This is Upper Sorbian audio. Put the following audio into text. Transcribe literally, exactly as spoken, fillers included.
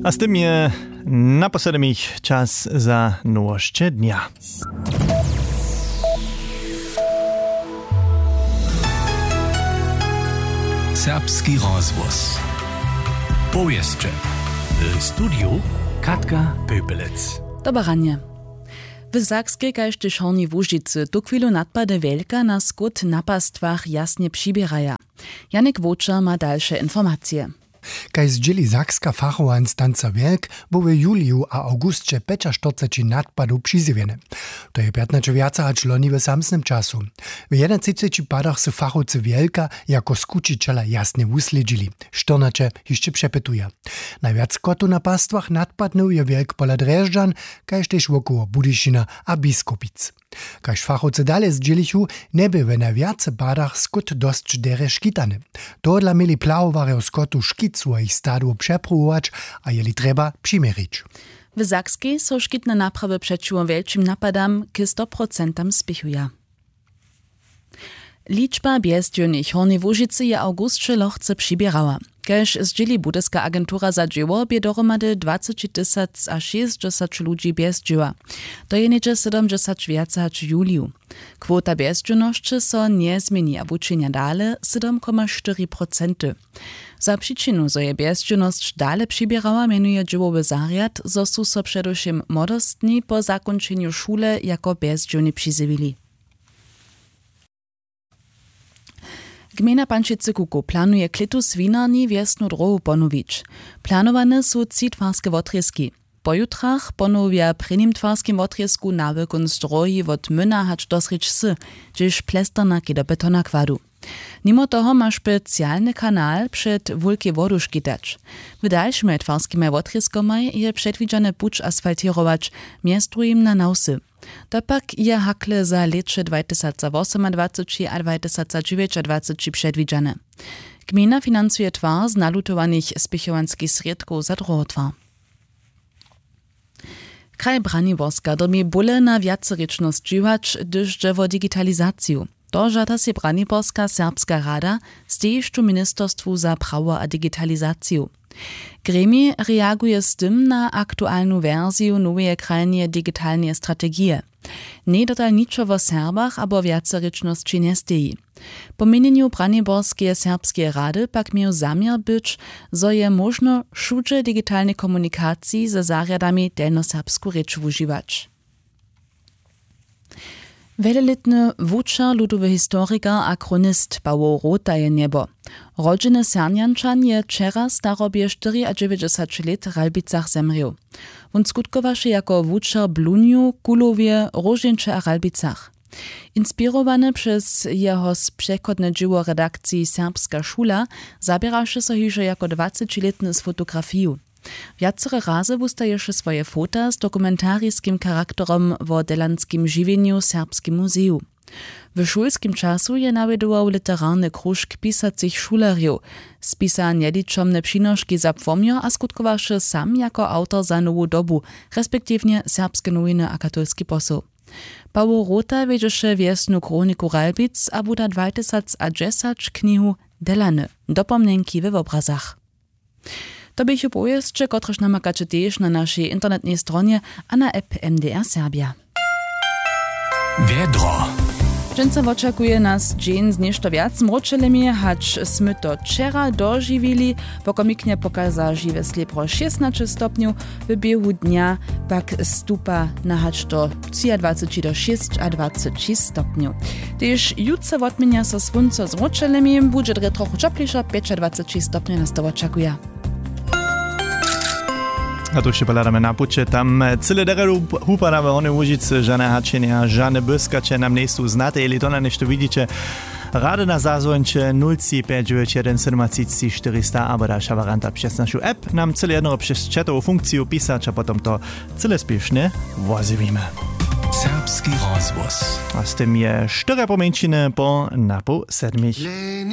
A z tym je naposlednich čas za nowosće dnja. Serbski rozhłos. Powěsće. W studiju Katka Pöpelec. Dobre ranje. W Sakskej kaž tež Hornjej Łužicy tuchwilu nadpady wjelka na skót na pastwach jasnje přiběraja. Janik Wočer ma dalše informacije. Kaž zdźěli sakska fachowa instanca wjelk, bu w juliju a awgusće pjećaštyrceći nadpadow přizjewjene. To je pjatnaće wjace hač loni w samsnym času. W jedynatřiceći padach su fachowcy wjelka jako skućićela jasnje wuslědźili. Štyrnaće hišće přepytuja. Najwjac kotow na pastwach nadpadnył je wjelk pola drježdźan, kaž tež wokoło budyšina a biskupic. Kaž fachowcy dale zdźělichu, njebě w najwjace padach skót dosć derje škitany. Tohodla měli plahowarjo skotu škit swojich stadłow přepruwować, a jeli trjeba přiměrić. W sakskej so škitne naprawy přećiwo wjelčim napadam k stoprocentam spěchuja. Ličba bjezdźěłnych hornjej łužicy je awgusće lochce přiběrała. Kaž zdźěli budyska agentura za dźěło bě dohromady dwaceći tysac a šěsćdźesać ludźi bjezdźěła. To je něhdźe sydomdźesać wjace hač w juliju. Kwota bjezdźěłnosće so njezměni a wučenja dale, sydom koma štyri procenty. Za přičinu zo je bjezdźěłnosć dale přiběrała, mjenuje dźěłowy zarjad, zo su so předewšěm młodostni po zakónčenju šule jako bjezdźěłni přizjewili. Gmejna pančicy kukow planuje klětu swinarni wjesnu dróhu ponowić. Planowane su tři twarske wotrězki. Po jutrach ponowja w prěnim twarskim wotrězku na wykónc dróhi wot myna hač do srědź wsy, hdźež plesterna k do betona kładu. Nimo toho ma specialny kanal před wulkej wodu škitać. W dalšimaj twarskimaj wotrězkomaj je předwidźane puć asfaltěrować, mjez druhim na nawsy. To pak je hakle za lěće dwajtysacwosomadwaceći a dwajtysacdźewjećadwaceći předwidźane. Gmejna financuje twar z nalutowanych spěchowanskich srědkow za dróhotwar. Kraj Braniborska dyrbi bóle na wjacerěčnosć dźěłać, hdyž dźe wo digitalizaciju. To žada sej Braniborska serbska rada, stejišću ministerstwu za prawo a digitalizaciju. Gremij reaguje z tym na aktualnu wersiju noweje krajneje digitalneje strategije. Njej dotal ničo wo Serbach abo wjacerěčnosći njesteji. Po měnjenju Braniborskeje serbskeje rady pak měł zaměr być, zo je móžno wšudźe w digitalnej komunikaciji ze zarjadami delnjoserbsku rěč wužiwać. Wjelelětny wučer, ludowy historikar a chronist Pawoł Rota je njebo. Rodźeny Sernjančan je wčera starobje štyriadźewjećdźesać lět w Ralbicach zemrěł. Wón skutkowaše jako wučer w Blunju, Kulowje, Róžeńće a Ralbicach. Inspirowany přez jeho spřechodne dźěło w redakciji Serbska šula zaběraše so hižo jako dwacećilětny z fotografiju. Wjacore razy wustaješe swoje fota z dokumentariskim charakterom wo delanskim žiwjenju w Serbskim muzeju. W šulskim času je nawjedował literarny króžk pisacych šulerjow, spisa njeličomne přinoški za płomjo a skutkowaše sam jako awtor za Nowu dobu, respektiwnje Serbske nowiny a Katolski posoł. Pawoł Rota wjedźeše wjesnu chroniku Ralbic a wuda dwatysacdźesać knihu Delany, dopomnjenki we wobrazach. To běchu powěsće, kotrež namakaće tež na našej internetnej stronje a na app M D R Serbja. Wjedro. Dźensa wočakuje nas dźeń z něšto wjac mróčelemi, hač smy to wčera dožiwili. Pokomiknje pokaza žiwe slěpro šěsnaće stopnjow, w běhu dnja pak stupa na hač do třiadwaceći do šěsćadwaceći stopnjow. Tež jutře wotměnja so słónco z mróčelemi, budźe drje trochu ćoplišo, pjećadwaceći stopnjow nas to wočakuja. A to wšě pohladamy na puće. Tam cyle derje hupada w Hornjej Łužicy, žane hačenja, žane błyskaće nam njejsu znate. Jeli to na něšto widźiće, rady na zazwońće nul tři pjeć dźewjeć jedyn sydomatřiceći štyrista abo dalša warianta přez našu app. Nam cyle jednoho přez chatowu funkciju pisać a potom to cyle spěšnje wozjewimy. Serbski rozhłos. A z tym je štyrje pomjeńšiny po napoł sedmich.